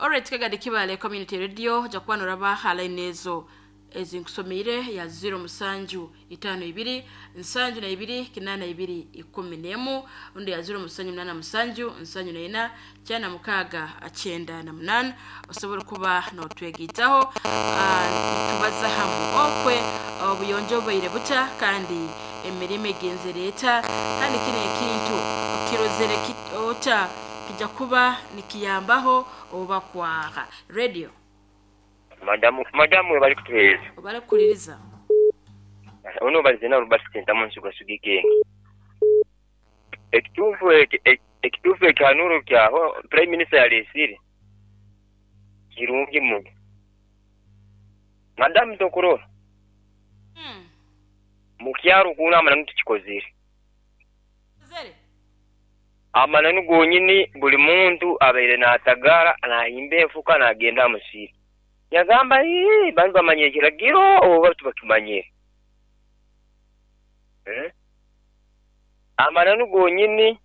Alright, kagadi Kibale Community Radio, ojja kuba noraba ha line ezo ezinkusomeire ya 0752 72 82 11, undi ya 0787 74 96 98. Osobola kuba notwegaitaho. Tubaza hamu okwe obuyonjo bubaire buta kandi emirimo egenzere eta, kandi kino ekintu kirozere ota kijja kuba nikiyambaho oba kwaha radio. Madamu, madamu webale kutuwereza. Obale kukuliriza. Ono balize na Robert Sentamu Nsuga Ikenge. Ekituufu ekituufu ekihanuro kyaho Prime Minister yalesire kirungi muno. Madamu tokurora. Mukyaro kuno amananu tukikozere. Amananu gonyini, buli muntu abaire natagara nahimba enfuka nagenda amusiri. Yagamba, "Ii, banu bamanyire ekiragiro oba tibakimanyire?" Eh? Amananu gonyini.